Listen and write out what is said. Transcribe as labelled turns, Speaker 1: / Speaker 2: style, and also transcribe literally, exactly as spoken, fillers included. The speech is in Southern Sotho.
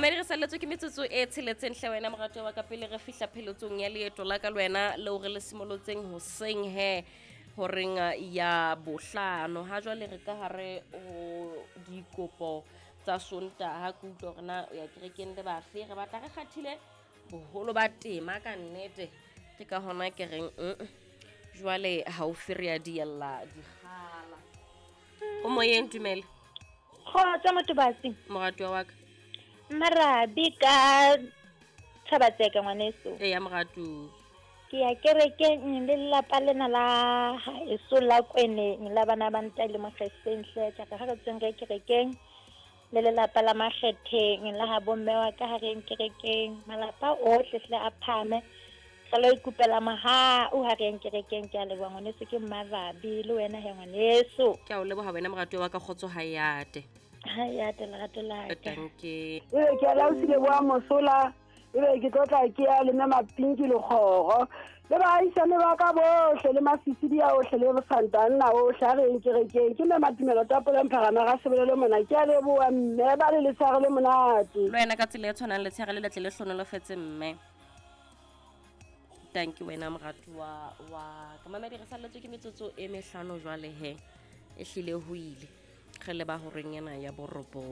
Speaker 1: Mamedi, re salletswe ke metsotso e tsheletseng hle wena moratuwa wa ka, pele re fihla pheletsong ya leeto la ka le wena leo re le simolotseng hoseng he horeng ya bohlano. Ha jwale re ka hare ho dikopo tsa Sontaha, ke utlwa hore na o ya kerekeng le bafe. Re batla re kgathile boholo ba tema ka nnete, ke ka hona ke reng mm jwale haufi re ya diella dikgala. O moyeng, dumela.
Speaker 2: Kgotsa motobatsi.
Speaker 1: Moratuwa wa ka.
Speaker 2: Marabi ka Thabatseka ngwaneso.
Speaker 1: Eya moratuwa.
Speaker 2: Ke ya kerekeng le lelapa lena la haeso la Kweneng la bana ba ntate le Mokgetheng hle. Ke re ha re tsweng re kerekeng le lelapa la Makgetheng la ha bomme wa ka, ha re yeng kerekeng, malapa ohle hle a phame, re lo ikopela mohau ha re yeng kerekeng. Ke a leboha ngwaneso, ke Mmarabi le wena he ngwaneso.
Speaker 1: Ke a o leboha wena moratuwa wa ka, kgotso ha e ate.
Speaker 2: Ha e ate lerato la ka.
Speaker 1: Tanke.
Speaker 3: Ebe ke a laosile boa mosola, ebe ke tlotla ke ya le mme Mapinki Lekgoro le baahisane ba ka bohle le masisidi a ohle le santanna ohle, ha re yeng kerekeng. Ke mme Matumelo Tapole Mpharama ga sebelele mona. Ke a leboha mme, ba le letshehare le monate.
Speaker 1: Le wena ka tsela e tshwanang, letshehare le letle le hlonolofetse mme. Tanke wena moratuwa wa ka. Mamedi, re salletswe ke metsotso e mehlano jwale he, e hlile ho ile re leba horeng ena ya borobong.